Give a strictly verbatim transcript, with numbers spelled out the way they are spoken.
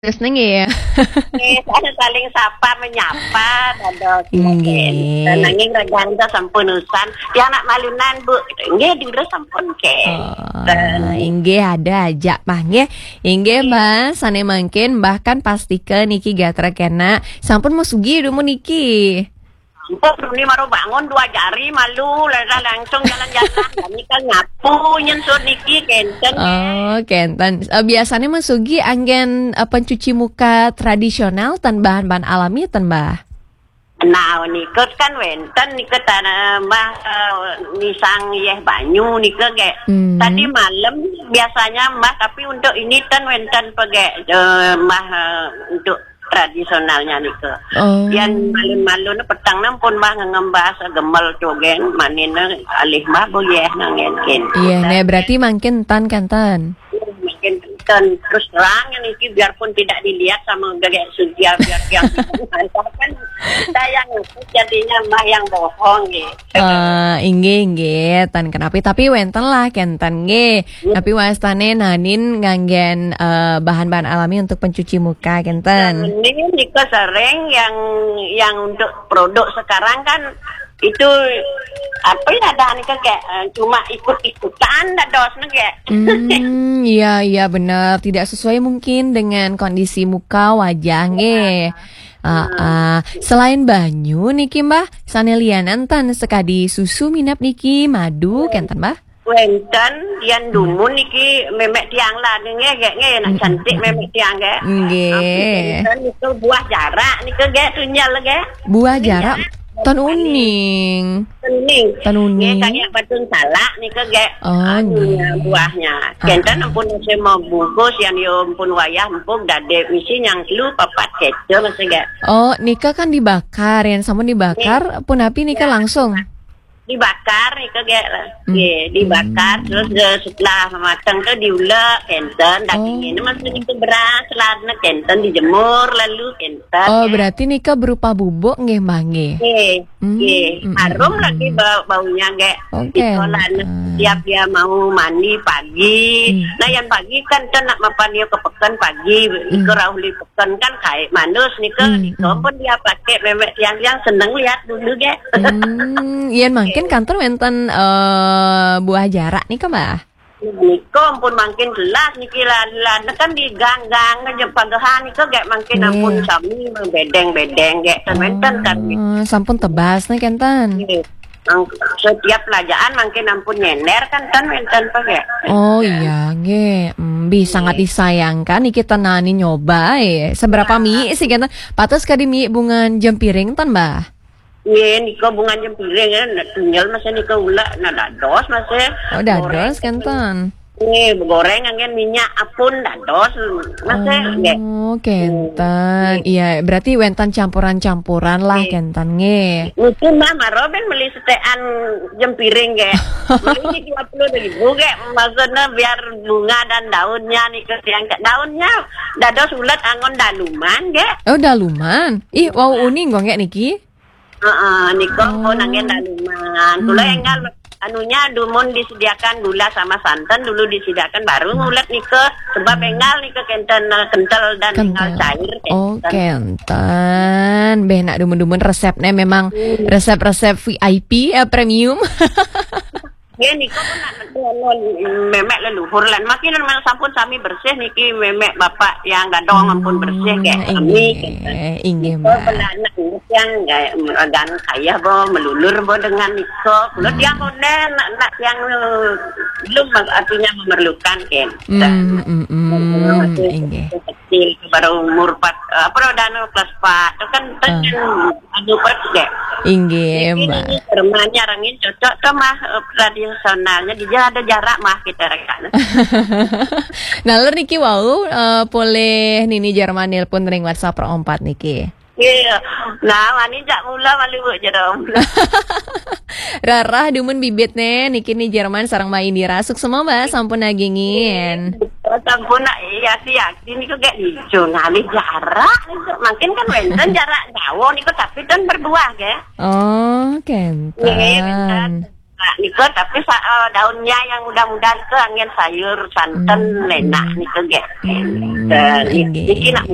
Terus neng ya. Eh, ada saling sapa menyapa, dados. Nggih. Nanging regang ta sampun usan. Yang nak malunan, Bu. Nggih, dulu sampun ke. Oh, inggih, ada aja, Mbah, nggih. Inggih, Mbah, sane mangkin, Mbah kan pastika niki gatra kena. Sampun mesugi dumun niki. Ampun, Runi baru bangun dua jari malu, lah langsung jalan-jalan. Kami kan nyapu, nyen sur niki, kenten. Oh, kenten. Eh, biasanya mesugi anggen, eh, pencuci muka tradisional tan bahan-bahan alami tan, Mbah? Nah, niku kan wenten niku tanah, Mbah, eh, nisang yeh banyu niku ge. Hmm. Tadi malam biasanya, Mbah, tapi untuk ini kan wenten pege, eh, Mbah, eh, untuk tradisionalnya niku. Oh. Yang malun-malun petang nang pun, Mbah, ngembas gemel cogen, manine alih, Mbah, boyeh nangen kin. Iya, nah, berarti mangkin tan kan tan? Mungkin, dan terus terang niki, biarpun tidak dilihat sama Gagek Sugia, biar yang kan saya yang ngaku jadinya, Mbah, yang bohong gitu. Eh, inggih, inggih, tan kenapi, tapi wenten lah kenten nggih. Iya. Tapi wastane nanin nganggen, eh, bahan-bahan alami untuk pencuci muka kenten. Ini nika sering yang, yang untuk produk sekarang kan itu apa ya, ada nika kayak, eh, cuma ikut-ikutan dados nika. Hmm, iya, iya, benar. Tidak sesuai mungkin dengan kondisi muka wajah nggih. Ah, ah. Selain banyu niki, Mbah, sane lianan tan sekadi susu minap niki, madu kenten, Mbah? Wenten, yang dumun niki memek tiang lah nggih, nggih, nggih, nak cantik memek tiang nggih. Nggih. Wenten itu buah jarak niku nggih, tunjel nggih. Buah jarak? Tan uning. Uning. Tan uning. Nggih, kayak batun salak niku nggih. Oh, anu, nggih. Buahnya. Ah. Kenten ampun saya mau bungkus yang yo ampun wayah empuk dade misi yang lu papat kecil masih nggih. Oh, nika kan dibakar, yang sampun dibakar, pun api nika langsung. Dibakar nika ge. Hmm. Nggih, dibakar, terus, eh, setelah matang tuh diulek kenten, dagingnya ini masih itu beras, lana kenten dijemur lalu kenten. Oh, ya. Berarti nika berupa bubuk nggih, Mbah, nggih? Nggih, hmm, nggih. Hmm, harum hmm, lagi hmm. Bau-, baunya ge. Oke. Nika lana setiap dia mau mandi pagi. Hmm. Nah, yang pagi kan tuh nak mapan dia ke peken pagi, hmm. Nika rauh li kan, kan kayak manus nika, hmm, nika pun dia pakai memek tiang-tiang seneng lihat dulu ge. Hmm, yen mangkin kantor wenten, eh, buah jarak nika, Mbah? Nika pun mangkin jelas niki lah, lah kan di gang-gang aja pagehan nika ge mangkin ampun sami bedeng-bedeng ge, ten wenten kan. Oh, sampun tebas nih kenten. Nggih. Ang-, setiap pelajaan mangkin ampun nyender kan, kan wenten pege. Oh iya, nggih. Hmm, bi sangat disayangkan niki tenani nyoba, eh. Seberapa mi sih kenten? Patus kadi mi bungan jempiring tan, Mbah? Nggih, nika bungan jempiring, eh, nak tunjel masih nika ulek, nak dados masih. Oh, dados kenten. Nggih, begoreng angin minyak apun dados, masih nggih. Oh, kenten. Nggih. Iya, berarti wenten campuran-campuran lah kenten nggih. Niki mah maro ben beli setekan jempiring nggih. Beli dua puluh ribu nggih, maksudnya biar bunga dan daunnya nih ke tiang ke daunnya dados ulet angon daluman nggih. Oh, daluman. Ih, wau uning kok nggih niki. Heeh, nika pun angin daluman. Kula enggal anunya dumun disediakan gula sama santan dulu disediakan baru ngulet nika sebab enggal nika kenten, eh, kental dan enggal cair kenten. Oh, kenten. Beh nak dumun-dumun resepnya memang resep-resep V I P, eh, premium. Nggih, nika pun nak, anu, memek leluhur lan. Makin memang sampun sami bersih niki, memek bapak yang gadong ampun bersih, kayak kami, inggih, gitu. Inggih, Mbak. Belanak yang kayak agan kaya bo, melulur bo dengan nika. Kula tiang konden, nak, nak tiang, eh, belum artinya memerlukan, kan. Hmm, hmm, hmm, inggih. Kecil, baru umur empat, eh, apa, dah anu, kelas empat. Itu kan, kan anu, pas deh. Inggih, Mbak. Ini Jerman nyarengin cocok tuh, mah, eh, tradisionalnya. Dia ada jarak, mah, kita rekan. Nah, lur niki wau, eh, polih nini Jerman nelpon ring WhatsApp perempat niki. Iya. Nah, wani jak mula malu, Bu, Jerman. Rarah dumun bibit ne, niki ni Jerman sareng Mbak Indira. Suksema, Mbak, sampun nagingin. Oh, sampun, nak, iya, sih, ya. Ini kok gak hijau ngalih jarak. Makin kan wenten jarak jauh niku, tapi kan berbuah, ge. Oh, kenten. Nggih, wenten. Nah, nika tapi sa- eh, daunnya yang muda-muda itu angin sayur, santan, Hmm. Enak nika ge. Hmm, Dan inggih. Niki nak